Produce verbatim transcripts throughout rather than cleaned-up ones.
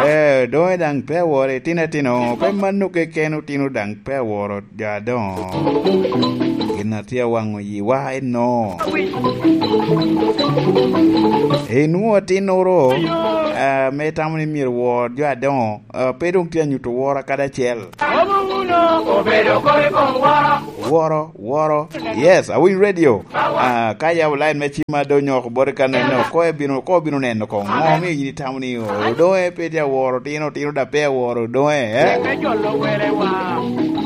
Eh, doŋe daŋ pe aworo itino atino, pe mano keken otino daŋ pe aworo jo adoŋo. Gin a tye awaŋo yiwa eno. Inwoŋo atinnoro, ah, me itamo ni myero wor jo adoŋo, ah, pe doŋ tye anyuto woro kadi acel. Woro, woro. Yes, awiny radio. Ah, ka yabo line me cim ma doŋ nyoko boti ka neno, ko ebino, ko obino neno ko. Ŋo omio yin itamo ni o-, doŋe pe tye aworo otino, otino da pe aworo doŋe, eh? Me jolo welewa.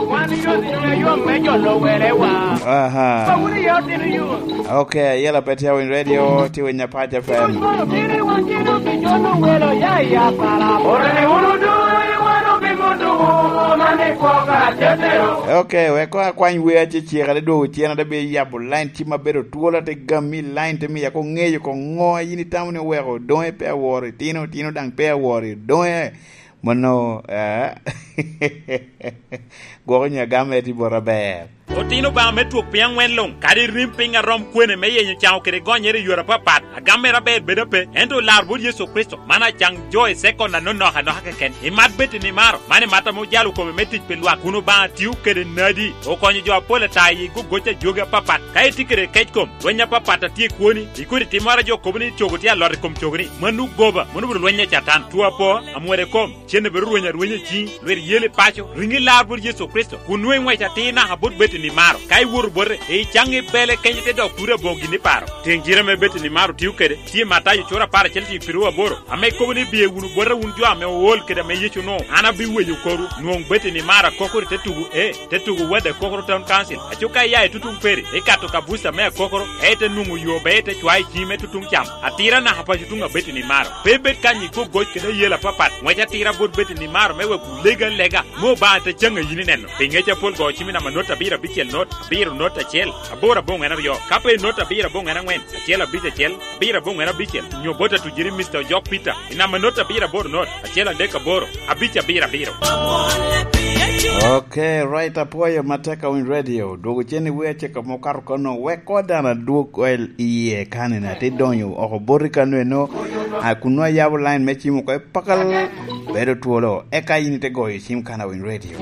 Wan yot, yot me jolo welewa. Aha. Pawulu yot, yot. Ok, ayela pe tye awiny radio, tye winyo Apac F M. Ok, wek koŋ akwany wer acecek, ate dwogo cen, ate bi yabo line cim ma bedo twolo, ate gami line, te miya koŋ ŋeyo koŋ ŋo a yin itamo ni oweko doŋe pe aworo itino, itino daŋ pe aworo doŋe. Mano, eh, gwoko nyo agam eti bot aber. Otino Obaŋa me twok piny aŋwen luŋ, kadi rim piny a rom kwene me yenyo caŋo kede gonyere i yore apapat, agam mere aber bedo ape, ento lar bot Yecu Kricito, man acaŋ jo i sekon anonok anoka keken. Imat bed i nimaro, man imat ame ojalo kome me tic pi lwak, kun Obaŋa tio kede nadi, okonyo jo apol ata i gogoc a jogi apapat. Ka itye kede kec kom, lweny apapat a tye i kwoni, i kodi timmoro a jo kobo ni cogo tye alot i kom cogoni, mano goba, mano obedo lweny a Catan. Two apo, amwode kom, cen bedo rweny arwenya i ciŋi, lwit yel i paco, riŋi lar bot Yecu Kricito, kun nwoŋo iŋwec atir naka bot bed i nimaro. Ka iwoto bote, icaŋ i bele kenyo te dok turi aboŋo gin iparo. Teŋ cire ame bed i nimaro tio kede, tye Matayo cura apar acel tiŋ piru aboro, ame kobo ni, "Biye wunu bota wun jo ame ool kede ame Yecu onwoŋo, an abiweyo korwu." Nwoŋ bed i nimaro akokoro i te tugo E, te tugo Wad Akokoro Town Council. Aco ka ia i tutuŋ Peri, ikato ka buca me Akokoro, ka ite nwoŋo yo, be ite cwayo i ciŋi me tutuŋ cam. Atira naka paco tuŋ abed i nimaro. Pe ibed kany i gogoc kede ayela apapat. Ŋwec atira bot bed i nimaro me wek wulego alega, me Obaŋa te caŋ a yin ineno. Pi ŋec apol go cim i namba not abiro abicel not, abiro not acel, aboro aboŋwen aryo. Ka pe not abiro aboŋwen aŋwen, acel abic acel, abiro aboŋwen abicel, nyo bot atujiri Mister Ojok Peter, i namba not abiro aboro not, acel adek aboro, abic abiro abiro. Ok, right, apwoyo matek awiny radio. Dwogo cen i wer acel ka mokato kono, wek koŋ dano adwog kwel iye kanina, te donyo oko boti kano eno, a, kun nwoŋo ayabo line me cim oko i pakal, bedo twolo, eka yin ite goyo cim kan awiny radio.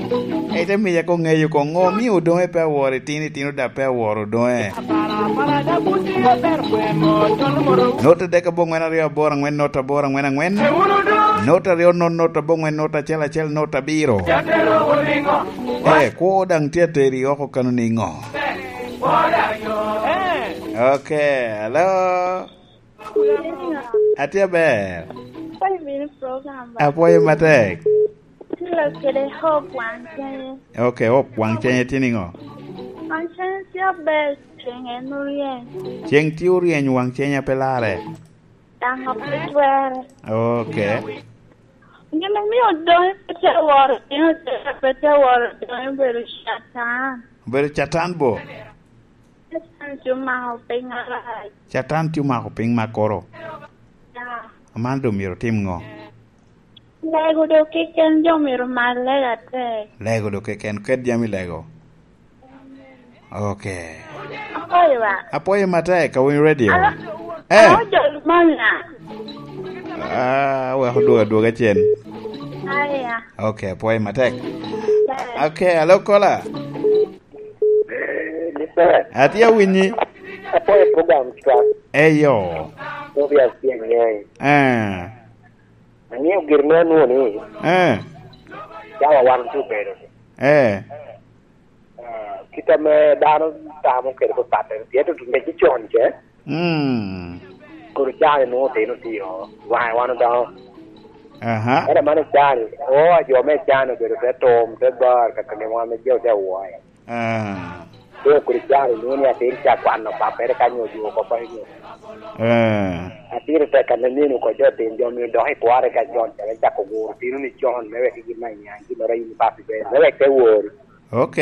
Ite miya koŋ ŋeyo koŋ ŋo omio doŋe pe aworo itino, itino da pe aworo doŋe. Not adek aboŋwen aryo aboro aŋwen, not aboro aŋwen aŋwen. Not aryo not, not aboŋwen, not acel acel, not abiro. Eh, kwo daŋ tye ateri oko kano niŋo? Ok, hello. Atye aber. Kony bino program ba. Apwoyo matek. Tye kede Hope Wangcene. Ok, Hope Wangcene tye niŋo? Wangcene tye aber, ceng en oryeny. Ceng tye oryeny, Wangcene pe larre. Daŋ pe twere. Ok. Gin omio doŋ pe tye aworo, gin pe tye aworo doŋ obedo Catan. Obedo Catan bo? Catan tye omako piny arac. Catan tye omako piny makoro. Ya. Man doŋ myero otim ŋo? Lego doŋ keken, jo myero omak lego atek. Lego doŋ keken, ket jami lego. Ok. Apwoyo wa. Apwoyo matek, awinyo radio. Alo, eh. Alo, jo Lubanga. Ah, wek odwogo adwoga cen. Aya. Ok, apwoyo matek. Aya. Ok, alo kola. Eh, ni ber. Atye awinyi. Apwoyo program ca. Eyo. Program tye ang'eny. Eh. Ang'eyo gin me anwoŋo ni. Eh. Cawa wan tye obedo. Eh. Ah, kit ame dano tamo kede papatte, pien tutuŋ ŋec con ce. Mm. Koro cani nwoŋo otino tio, waŋe wan odoŋo. Aha. Ento man icani, oo, jo me cani obedo te tum, te bar, kaka gin wan me jo te awoya. Ah. Doŋ kodi cani nwoŋo ni atin ca kwano pappere ka nyo odwogo oko pa inyo. Ah. Atin tek ka neno oko jo tin jo mio dok i kware ka con ca me cako guro tino ni con, me wek gin ma inyaŋ gin ora in papi ber, me wek te wori. Ok.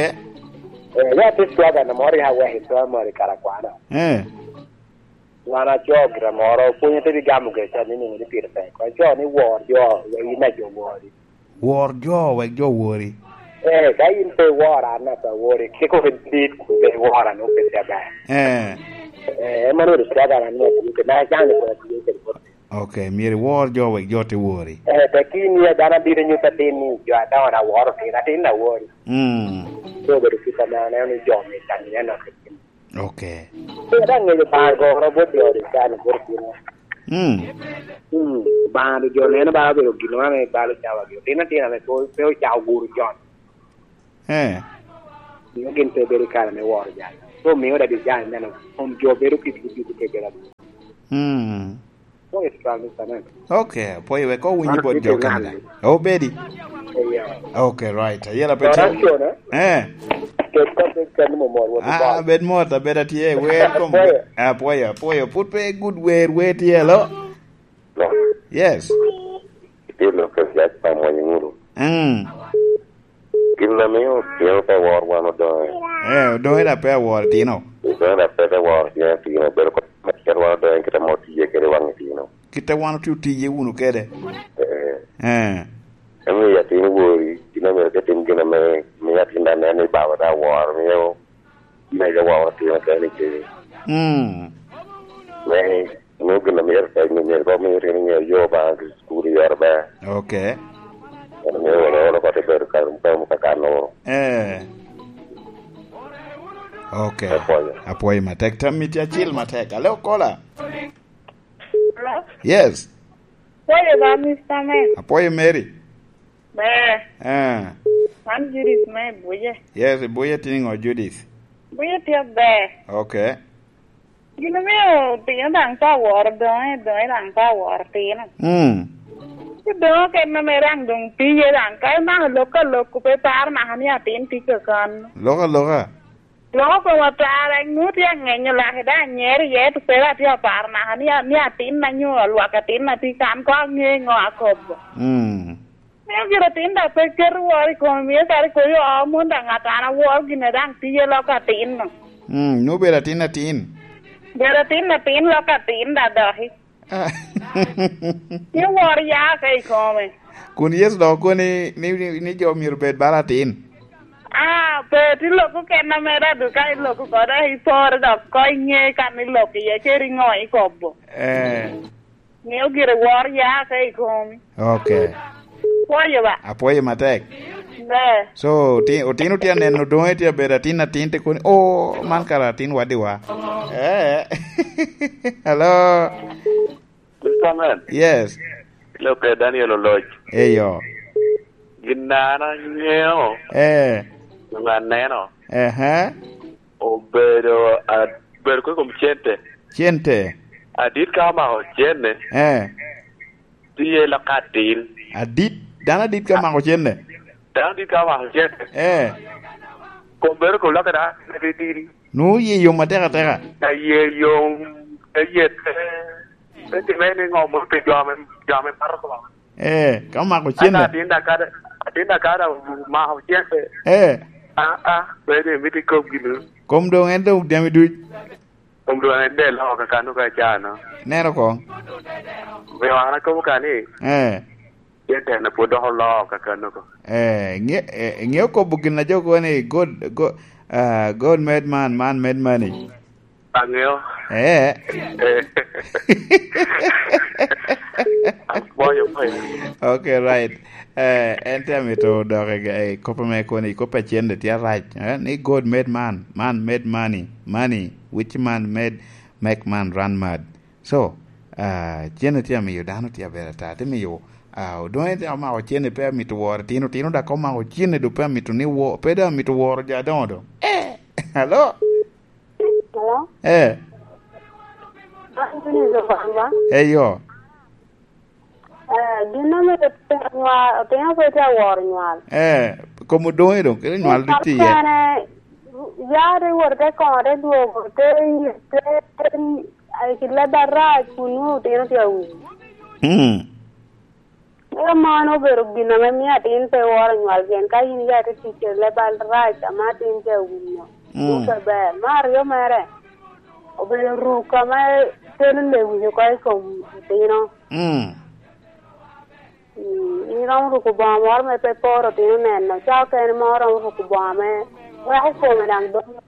Eh, ya te swaga na moro ya wek i primary kara kwana. Eh. Wan aco gira moro, pwonye te bi gamo gire ca ni niŋo ni pire tek. Aco ni wor jo, wek in ajo wori. Wor jo, wek jo wori. Eh, ka in pe iworo an asa wori, kiko ke dit kun pe iworo an oke tye aber. Eh. Eh, en mano ri swaga na ni atiyo ke, na can ni kona tiyo ke. Ok, myero iwor jo wek jo te wori. Eh, tekki ni dano abiro nyuto atin ni jo adongo na woro atin, atin na wori. Mm. So obedo kit ame aneno ni jo me kan ni aneno kit. Ok. So dano ngeyo Obaŋa goro bot jo ri kan bot kino. Mm. Mm. Obaŋa do jo neno ba obedo gino ame balo cawa gi. Otin atin ame pe, pe ocao guru jon. Eh. Mio gin pe bedo i kare me woro jal. So mio dadi jal neno kom jo bedo kit gi kit kekela. Mm. What is wrong with that? Okay, apwoyo wek owinyi bot jo Canada. Obedi. Yeah. Okay, right. Ayela pe tye. Eh. Ket ka ket ka ni mo mor wot. Ah, bed mot, abed atye. Welcome. Apwoyo, apwoyo. Put pe good wer, wer tye lo. Yes. Itye lok kede yac pa mony ŋuto. Mm. Gin ame otino pe woro wan odoŋe. Eh, odoŋe da pe aworo tino. Odoŋe da pe te woro tino, tino. Bedo kop me kit wan odoŋe kit ame otiye kede waŋ itino. Kit a wan otye otiye wunu kede. Eh. Eh. Emiyo atin wori, gin ame oke tim gin ame miyo atin da neno ni baba da woro, miyo mega woro tino kede ni kede. Mm. Me Nwoŋo gin a myero tek ni myero kong omi otino ŋeyo yo Obaŋa ki cukul i yore ber. Ok. Wan myero wan olo koti bedo ka rum ka rum ka kan oro. Eh. Ok. Apwoyo. Apwoyo matek. Tam miti acil matek. Alo, kola. Hello? Yes. Pwoyo ba, Mister Man. Apwoyo Mary. Ber. Eh. Man Judith me Ibuye. Yes, Ibuye tye niŋo, Judith? Ibuye tye ber. Ok. Gin omio otino daŋ pe aworo doŋe, doŋe daŋ pe aworo tino. Mm. Ci doŋe okene ame daŋ doŋ tiye daŋ, ka imako lok ka lok, pe iparo naka ni atin tye kakano. Lok aloka? Loko koma tara, ŋut tye aŋenyo lake daŋ anyero iye, to pe atye aparo naka ni, ni atinna nyo lwak atinna tye kan, ko aŋe ŋo akobo. Mm. Mio gire atin daŋ pe keto woro i kome, mio kadi koyo oo mon daŋ ŋat an aworo gin a daŋ tiye lok atinno. Mm, nwoŋo bedo atin atin. Bedo atin atin lok atin daŋ doki. Ah. Ni woro ya ka i kome. Kun Yecu dok okobo ni, ni, ni, ni jo myero bed bala atin. Ah, pe ti lok okene mere adu ka iloko kode, ipore dok ko iŋe kan ilok iye, ceri ŋo ikobo. Eh. Miyo gire wor ya ka i komi. Ok. Pwoyo ba? Apwoyo matek. Ber. So, oti-, otino tye aneno doŋe tye abedo atin atin te koni, "Oh, man kara atin wadiwa." Eh. Hello. Mister Man. Yes. Ilokke Daniel Oloc. Eyo. Gin a an aŋeo, eh, onyo aneno, ehe, obedo, a-, obedo kwe kom cente. Cente. Adit ka omako cente, eh, tye lok atin. Adit, dano adit ka mako cente? Dano adit ka omako cente. Eh. Kom bedo kom lok ada, adit diri. Nwoŋo oye yom atek ateka. Aye yom, aye te, te timme ni ŋo moro pi jo ame, jo ame mato Obaŋa. Eh, ka omako cente. Ata atin da kada, atin da kada omako cente. Eh. Ah, ah, bene mito ikob gino. Kom doŋ en doŋ jami duc. Kom doŋ en de loko kakano ka cano. Neno koŋ. Omiyo an akobo ka ni, eh, cente en pwod dok oloo kakano ko. Eh, ŋe-, eh, ŋeo kobo gin a jo kobo ni, "God, go-, ah, God made man, man made money." Aŋeo. Eh. Eh. Apwoyo, apwoyo. Ok, right. Eh, en te amito dok i, i kop ame kono, i kop a cente tye arac, eh, ni God made man, man made money, money, which man made, make man run mad. So, ah, cente tye amiyo dano tye aber ata, tye miyo, ah, odongo tye omako cente pe amito woro tino, tino dak omako cente do pe amito ni wo-, pe do amito woro jo adoŋo do. Eh, hello? Hello? Eh. An Eunice Obamba. Eyo. Eh, gin ame otino nywal, otino pe tye aworo nywal. Eh, kom odoŋe doŋ, kede nywal duk tye iye. Kene, ya te wot te koŋo, te dwogo, te, te, te, ai, ki leb arac, kun nwoŋo otino tye awinyo. Mm. Eka mano obedo gin ame mio atin pe woro nywal, pien ka in ya ite tic kede leb arac ame atin tye awinyo, mm, pe ber. Me aryo mere, obedo ruk ame kelo lewinyo oko i kom otino. Mm. Mm, in iromo ruko bongo moro me pe poro otino neno, ca okene mo oromo ruko bongo ame weko kome daŋ dong.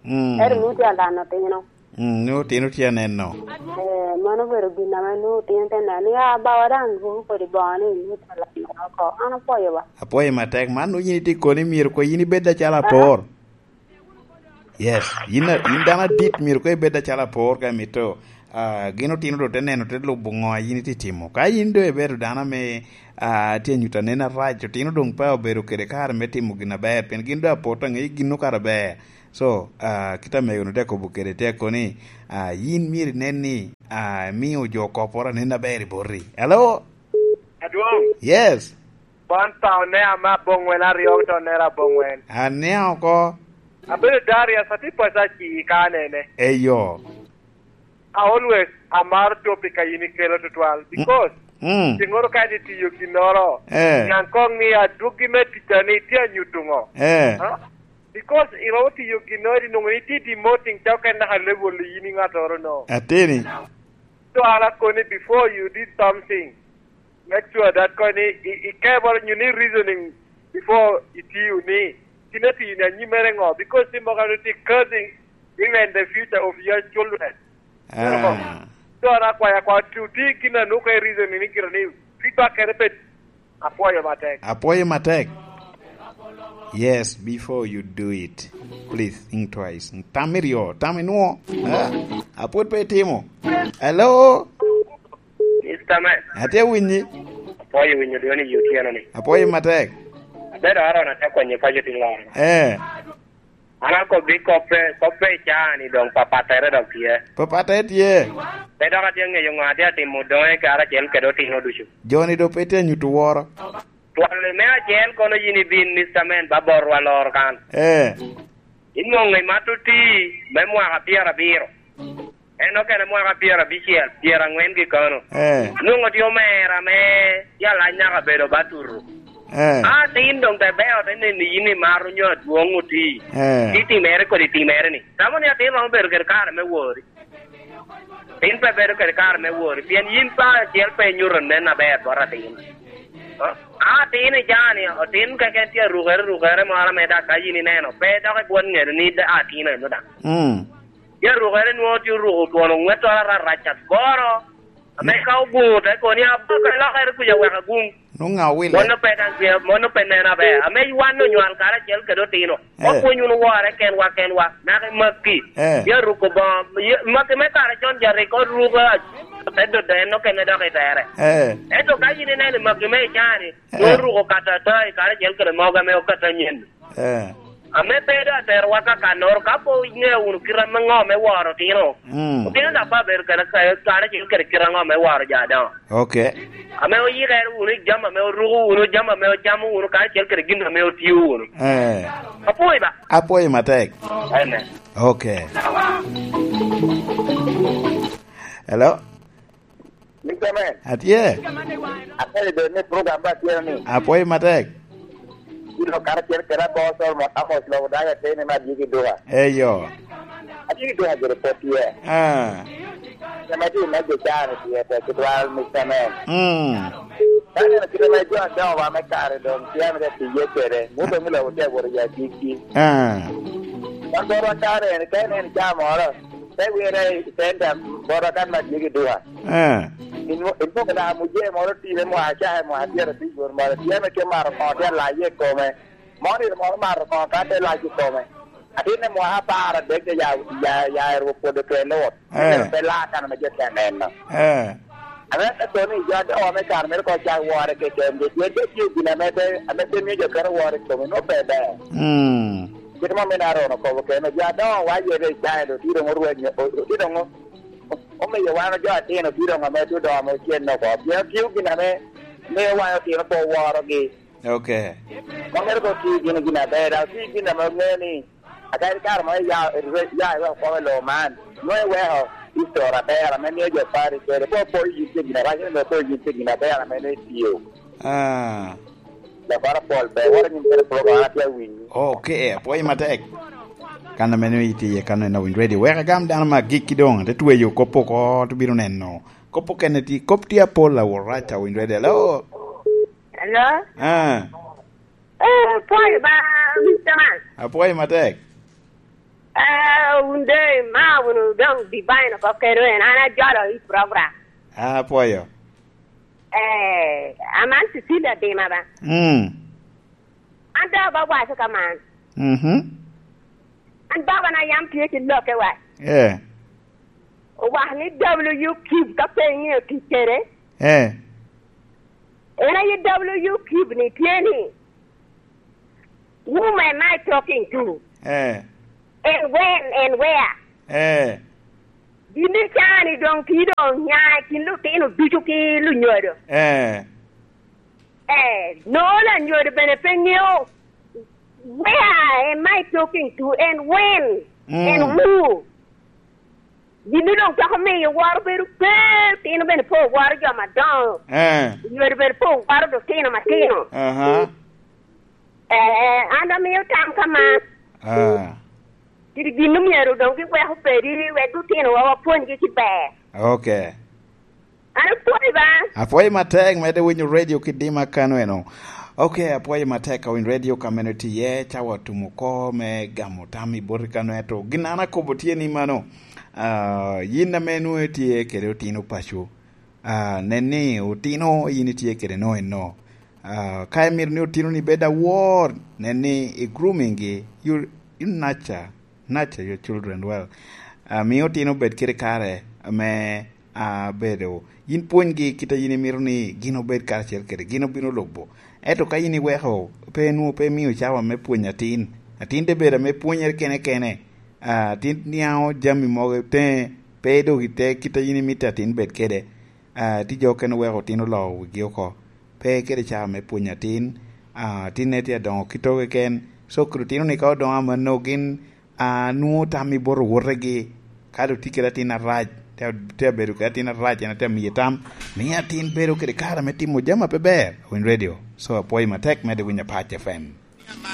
Mm. Ento nwoŋo tye alano otino. Mm, nwoŋo otino tye aneno. Eh, mano obedo gin ame nwoŋo otino te neno ni, "Ah, bawa daŋ ruko kodi bongo ni, nwoŋo tye alamma oko." An apwoyo ba. Apwoyo matek. Man nwoŋo yin itye koni myero koŋ yin ibed acalo apor. Yes, yin a-, yin dano adit myero koŋ ibed acalo apor ka imito, ah, gin otino doŋ te neno, te lubo ŋo a yin itye timo. Ka yin doŋ ibedo dano ame, ah, tye anyuto anen arac, otino doŋ pe obedo kede kare me timo gin aber, pien gin doŋ apot aŋeyo gin okato aber. So, ah, kit amego-nu te kobo kede, te kobo ni, ah, yin myero inen ni, ah, imio jo kopporo anen aber i boti. Hello? Adwoŋ. Yes. Wan pa onea me aboŋwen aryo to onera aboŋwen. Anea oko. Abedo Darius, atye paco aci ka anene. Eyo. I always amaro topic a yin ikelo tutwal, because mm, mm, tiŋoro ka ni tiyo ginnoro, eh, niaŋ koŋ ni adwogi me ticca ni tye anyuto ŋo? Eh. Ha? Because iromo tiyo ginnoro, inwoŋo ni tye demoting ca oken naka level yin i ŋattoro no. Ateni. So an akoni, before you did something, make sure that koni i, i keboro, you need reasoning before itiyo ni, tin atiyo ni anyimere ŋo, because timo ka ti cursing even the future of your children. Ah. So an akwayo akwa, tu ti gin a nuko i reasoning ni gin ni feedback kere bed. Apwoyo matek. Apwoyo matek. Yes, before you do it, please think twice. Tam iryo, tam inwo. Ah, apwod pe itimo. Hello? Mister Man. Atye winyi. Apwoyo winyo dwoni i otyeno ni. Apwoyo matek. Abedo Aaron, atye konyo paco tin loro. Eh. An akobbi koppe, koppe i caa ni doŋ papattere dok tye. Papattere tye. Pe dok atye ŋeyo ŋo atye atimo doŋe karacel kede otino ducu. Joni doŋ pe tye nyuto woro. Twal me acel kono yin ibin, Mister Man, ba botwa loro kan. Eh. Inwoŋo imato tii me mwaka pyerabiro. En okene mwaka pyerabicel, pyeraŋwen gi kono. Eh. Nwoŋo tye omera ame yalac naka bedo ba tutu. Eh. A tin doŋ te beo te neni yin imato nyo adwoŋ oti. Eh. Ti timere kodi timere ni. Tamo ni atin romo bedo kede kare me wori. Tin pe bedo kede kare me wori, pien yin pa acel pe inyuto nen aber bot atin. A atin i jani, otin keken tye arukere rukere moro ame dak ka yin ineno, pe dok ibwot ŋedo ni da-, atin eno daŋ. Mm. Tye arukere nwoŋo tye oruko twon oŋwettoro ararac agoro. Ame ka oguŋo te koni, "Abaka ilokere kuca wek aguŋ." Nwoŋo ŋa owile? Mon ope daŋ tye, mon ope neno aber. Ame wan onywal karacel kede otino. Eh. Wapwony wunu wore kenwa kenwa, naka i makki. Eh. Ya ruko boŋo, ya, makki me kare con ja rik oruko a-, te dodo en okene dok i tere. Eh. Ento ka yin ineno i makki me i caa-ni, eh, nwoŋo oruko kata atai karacel kede mogo ame okato anyen. Eh. Ame pe doŋ aterowa ka kannoro, ka pe iŋeo wunu kite ame ŋo me woro otino. Mm. Otino daŋ pe abedo kede ka-, karacel kede kite aŋo me woro jo adoŋo. Ok. Ame oyikere wunu i jami ame oruko wunu, jami ame ocamo wunu, karacel kede gin ame otio wunu. Eh. Apwoyo ba? Apwoyo matek. Amen. Ok. Hello? Mister Man. Atye. Akwai bed ni program ba tye ni. Apwoyo matek. Ilo karacel kede Abor Solomon Amos Lobo Dayo Ateni me Adyegi Duka. Eyo. Adyegi Duka gire pwod tye. Ah. Kama tye me jo caro tye te kitwal, Mister Man. Mm. Ka neno kite me jo adoŋo wa me kare doŋ tye amito tiye kede. Muto mi lobo tye agworo ya gigi. Ah. Wan botwa kare en, ka en en caa moro, te wire i center botwa kan me Adyegi Duka. Eh. Inwo-, inwoŋo na muje moro time mwa acaka mwa pyerabic won moro, tye ame ke mato koŋo tye alaye i kome. Moni moro mato koŋo ka te lac i kome. Atin i mwaka apar adek ya, ya, ya i rwok pwodo twe Lut. Eh. Myero pe la kan ame jo te neno. Eh. Ame te kono i jo adoŋo me kare mere ko cak wore keken, jo tye te tye gin ame te, ame te miyo jo keto wore i kome, nwoŋo pe ber. Mm. Kit ma min Aaron okobo kene, jo adoŋo wa yete i caen, otye doŋ orwenyo, o-, otye doŋ o-, omiyo wan jo atino tye doŋ ame tye odoŋo ame ocen oko. Pien tye gin ame miyo wan otino pe oworogi. Ok. Wan myero ko ti gin, gin aber, daŋ ti gin ame oŋeo ni, akadi kare mo ya, ya, ya, ya okwako i lobo man, nwoŋo iweko history aber ame miyo jo pari kede. Pe opoyo yin tye gin arac, nwoŋo opoyo yin tye gin aber ame nwoŋo itiyo. Ah. Lakara pol ber, wara nyim kede program, an atye awinyi. Ok, apwoyo matek. Kan ame nwoŋo itye iye kan en awinyo ready. Wek agam dano me agikki doŋ, te tweyo kop oko, te bino neno. Kop okene ti, kop tye apol awot rac awinyo ready. Hello? Hello? Ah. Eh, apwoyo ba, Mister Man. Apwoyo matek. Ah, wun de, ma wunu dong divine oko keno en, an ajolo i program. Ah, apwoyo. Eh, aman Cecilia Dima ba. Mm. An dok ba waco ka man. Mhm. An baba na yam tye ki lokke wa. Eh. Owako ni W Cube ka pe iŋeo tic kede. Eh. En aye W Cube ni tye ni, "Whom am I talking to? Eh. And when and where?" Eh. Gin icani doŋ tye doŋ nya i kin lutino ducu ki lunyodo. Eh. Eh, no lanyodo bene pe ŋeo, "Where am I talking to and when Mm. and who?" Gin doŋ twako miyo woro bedo pe, otino bene pe oworo jo madongo. Eh. Onyodo bene pe oworo lutino matino. Aha. Eh, an amio tam ka man. Ah. Kit gin omyero doŋ giwek opedi, wek lutinowa wapwonygi ki ber. Ok. An apwoyi ba. Apwoyi matek, medde winyo radio Kidima kano eno. Ok, apwoyi matek ka winy radio ka meno tye iye, cawa otum oko me gamo tam i boti kano, ento gin an akobo tye ni mano. Ah, yin ame nwoŋo itye kede otino paco, ah, nen ni otino yin itye kede no eno. Ah, ka imito ni otino ni bed awor, nen ni i grooming gi, you, you nurture, nurture your children well. Ah, mi otino bed kede kare ame, ah, bedo. Yin pwonygi kit a yin imito ni gin obed karacel kede, gin obino lubo. Ento ka yin iweko, pe nwoŋo pe imio cawa me pwonyo atin. Atin te bedo ame pwonyere kene kene. Ah, atin niaŋo jami mogo teŋe, pe dok i te kit a yin imito atin bed kede. Ah, ti jo okene weko otino loo wigi oko. Pe kede cawa me pwonyo atin. Ah, atinne tye adoŋo kite keken. So, kede otino ni ka odoŋo amanno gin, ah, nwoŋo tam i bot owotegi. Ka dok tye kede atin arac, te, te abedo kede atin arac, en te amiye tam. Mio atin bedo kede kare me timo jami a pe ber. Winy radio. So, apwoyi matek, medde winyo Apac F M.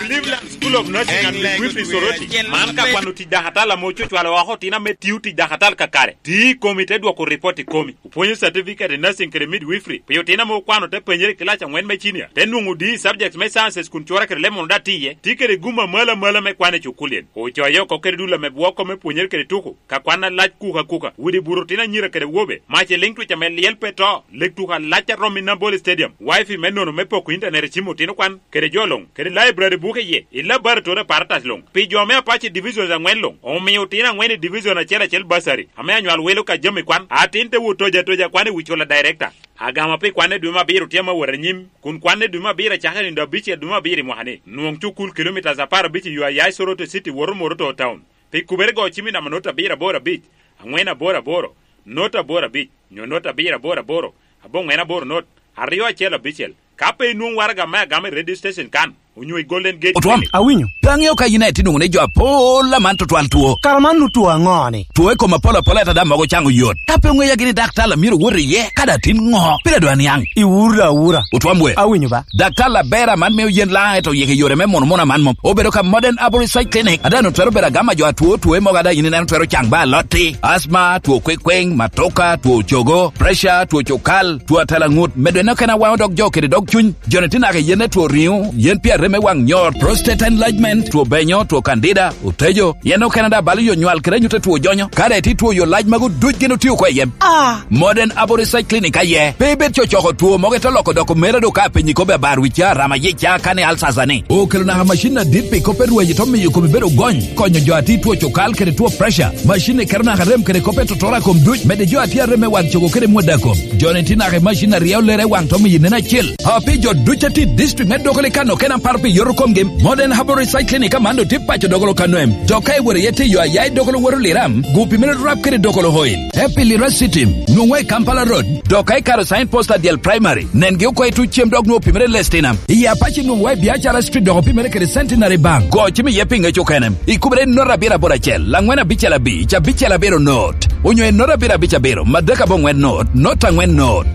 Cleveland School of Nursing and Midwifery Soroti, man ka kwano tic dakatal ame ococwalo oko otino ame tio tic dakatal kakare. Ti i komi te dwoko ripot i komi. Opwonyo certificate i nursing kede midwifery pi otino ame okwano te penyere i kilac aŋwen me cinia, te nwoŋo D E subjects me sciences kun cura kede leb mono daŋ tye iye. Ti kede gum amalo amalo me kwan i cukulien. Ocoye oko kede dul ame bwoko me pwonyere kede tuko. Ka kwan alac kuka kuka, udi buto otino anyira kede awobe, mac i liŋ twic ame lyel pe to, lek tuko alac a romo i Nambole Stadium, wifi me nono me poko intanet i cim otino kwan, kede jo luŋ, kede library buke iye, i laboratory apparatus luŋ, pi jo me Apache divisions aŋwen luŋ, omio otino aŋwen i division acel acel bursary, ame anywal wilo ka jami kwan, atin te wot toja toja kwan i wi cula director. Agama pi kwan i dwe me abiro tye ame wot anyim, kun kwan i dwe me abiro acakere nino abicel dwe me abiro i mwaka ni, nwoŋ cukul kilomitas apar abic i yo a ya i Soroti City woto Moroto Town. Pi kubere go cim i namba not abiro aboro abic, aŋwen aboro aboro, not aboro abic, nyo not abiro aboro aboro, aboŋwen aboro not, aryo acel abicel. Ka pe inwoŋo waraga me agama i radio station kan, onyo i Golden Gate Otwom, Clinic. Awinyo. Pe aŋeo ka yin aye tye nwoŋo ni jo apol aman tutwal two. Kara man nu two aŋo ni? Two i kom apol apol ata daŋ mogo caŋo yot. Ka pe oŋeya gini daktar a myero wot iye, ka daŋ tin ŋo? Pire dwa niaŋ. Iwura awura. Otwom we. Awinyo ba. Daktar aber aman mio yen laŋ eto yeke yore me mono mono aman mom. Obedo ka Modern Arborist Clinic. Adano twero bedo agama jo atwo, two mogo ada yin ineno twero caŋ ba alotti. Asma, two kwekweng, matoka, two cogo, pressure, two cokal, two atalaŋut. Medo en okene awaŋo dog jo kede dog cuny. Joni tye naka i yen ne two riŋo, yen pi arem me waŋ nyor, prostate enlargement, two benyo, two candida, otejo. Yen okene da balo yo nywal kede anyut a two jonyo. Kare ti two yo lac mago duc gin otio oko i yem. Ah. Modern Abo Research Clinic aye. Pe ibed cocoko two mogo ite loko doko mere do ka penyi kobe abar wica, rama yica, kane alsasa ni. Okelo naka macin adit pi kop e rweny to miyo komi bedo gony. Konyo jo ati two cokal kede two pressure. Macin ni keto naka rem kede kop e totora kom duc. Mede jo ati arem me waŋ cogo kede mwada kom. Joni ti naka i macin aryo lere waŋ to miyo nen acel. A pi jo duc ati district me Dokoli kano kena par pi yoto komgi. Modern Herbal Research Clinic aman do ti paco Dokolo kano em. Jo ka iworo iye ti yo ayai Dokolo woro liram. Gupi mere rap kede Dokolo oil. Epi lira sitim. Nwoŋwa i Kampala Road. Dok ka ikaro sign post adyel primary. Nen gi oko i tuc cem dok nwoŋo pimere lestinam. I Apache nwoŋwa i Biacara Street dok opimere kede Centenary Bank. Go cim iye pi ŋec okene. Ikubere not abiro aboro acel, angwen abicel abic, abicel abiro not. Onyo i not abiro abic abiro, madek aboŋwen not, not angwen not.